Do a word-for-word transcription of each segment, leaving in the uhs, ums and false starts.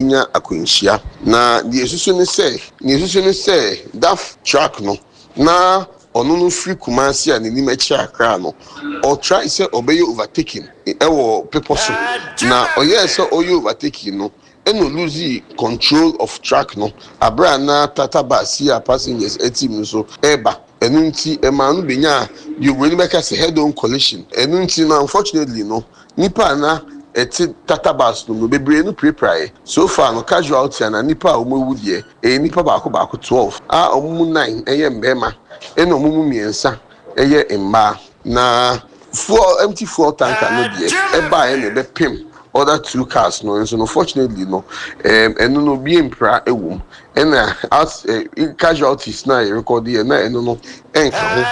Nya akwanhyia na deɛ esusu ne sɛ deɛ esusu ne sɛ DAF truck no na ɔno no firi Kumasi a n'anim akyerɛ Accra no, ɔtry sɛ ɔbɛyɛ overtaking ɛwɔ pepɔ so, na ɔyɛɛ sɛ ɔyɛ overtaking no ɛna ɔlose control of truck no abere a na Tata bus yi a passengers ɛte mu nso ɛreba. Ɛno nti ɛmaa no benya deɛ oburoni bɛka sɛ head on collision. Ɛno nti no, unfortunately no, nipa a na ɛte Tata bus no mu bebree no pirapiraeɛ. So far no, casualty ana nipa a wɔn awu deɛ, ɛyɛ nipa baako baako twelve a wɔn mu nine ɛyɛ mmarima ɛna wɔn mu mmiɛnsa ɛyɛ mmaa. Na fuel, empty fuel tanker no deɛ, ɛbaeɛ na ɛbɛpem other two cars no nso no. Fortunately no, ɛm ɛno no obi mpira ɛwɔ mu, ɛna as ɛ casualties na yɛ record yɛ na ɛno no ɛnka ho.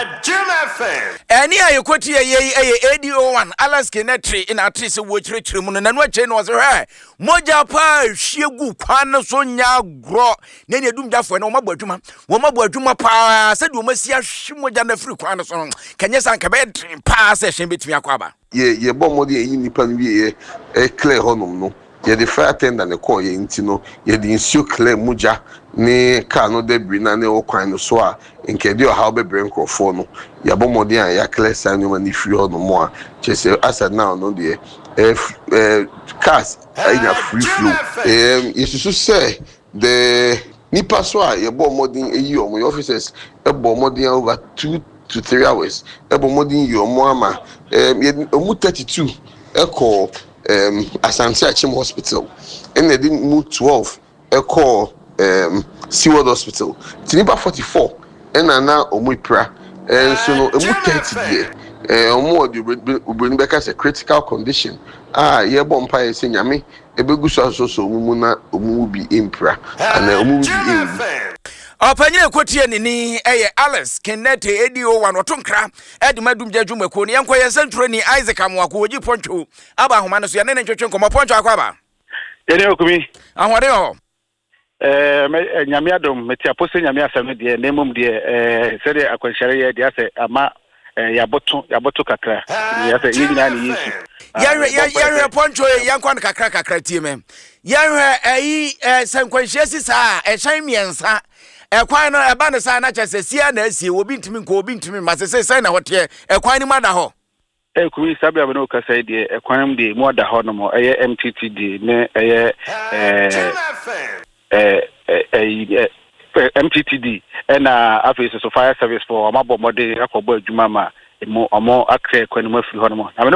Ɛne a yɛkɔti yɛ yi ɛyɛ A D O one Alex Kenneth na ate sɛ wɔkyerɛkyerɛ mu no nano akyɛ no, ɔsɛ hwɛ mogya paa hwie gu kwan no so nya agorɔ na ne adumgyafoɔ no wɔmabɔ adwuma, wɔmabɔ adwuma paa sɛdeɛ wɔmasi ahwe mogya no afiri kwan no so no. Kɛnyɛ sɛ anka bɛyɛ den paa sɛ ɛhyɛn bɛtumi akɔ aba. yɛ yɛbɔ mmɔden yɛyi nipa no wie, yɛ ɛ clear hɔnom no, yɛde fire tender ne kɔɔ yɛ nti no, yɛde nsuo clear mogya ne car no debris na ne ɛwɔ kwan no so a nkɛde ɔhaw bɛbrɛ nkurɔfoɔ no. Yɛabɔ mmɔden a yɛaclear saa nneɛma no firi hɔnom a kyerɛ sɛ asa now no deɛ, ɛɛ ɛɛ cars anya free flow. ɛɛm yɛsusu sɛ the nipa so a yɛbɔ mmɔden eyi wɔn, yɛ officers ɛbɔ mmɔden over two to three hours ɛbɔ mmɔden yi wɔn ama ɛɛm yɛ wɔn thirty two ɛkɔ ɛɛm Asante Akyem Hospital, ɛna yɛde mu twelve ɛkɔ ɛɛm Seaworld Hospital, ti nipa forty four ɛna na wɔn epira. Ɛnso no, emu thirty deɛ, ɛɛ wɔn wɔ deɛ obroni bɛka sɛ critical condition a yɛbɔ mpaeɛ sɛ Nyame ebegu so asosɔ wɔn mu na wɔn mu bi mpira anaa wɔn mu bi nwu. Ɔpanyin ekotie ne ni ɛyɛ Alex Kenneth A D O one, ɔto nkra ɛde ma dumgya dwumakuo no. Yɛnkɔ yɛn nsɛntwerɛni Isaac Amoako wɔgyi Pɔntwo aba ahoma no so, yɛne ne ntwetwe nkɔmmɔ. Pɔntwo, akɔ aba. Yɛne okumi. Ahoɔden wɔ hɔ? ɛɛ mɛ Nyame adom, mete apo sɛ Nyame asɛm no deɛ, na mmom deɛ, ɛɛ sɛdeɛ akwanhyɛre yɛ deɛ, asɛ ama ɛɛ yɛaboto yɛaboto kakra, yɛsɛ yɛn nyinaa ne Yesu. Yɛhwɛ, yɛhwɛ Pɔntwo yi, yɛnkɔ no kakra kakra. Tie me, yɛhwɛ ɛyi ɛɛ sɛ nkwanhyia si saa a, ɛhyɛn mmiɛnsa ɛkwan no ɛba ne saa na kyerɛ sɛ sia na asie, obi ntumi nkɔ, obi ntumi mma. Sɛ sɛ na hɔ ɛkwan no mu ada hɔ? Ɛkumi, saa bere a mene kasa yi deɛ, ɛkwan mu deɛ mu ada hɔ nom. Ɛyɛ M T T D ne ɛyɛ ɛɛ ɛɛ ɛyi M T T D, ɛna afei soso fire service fo, ɔmo abɔ mmɔden akɔbɔ adwuma ma emu ɔmo akra kwan no mu afiri hɔ nom na mene.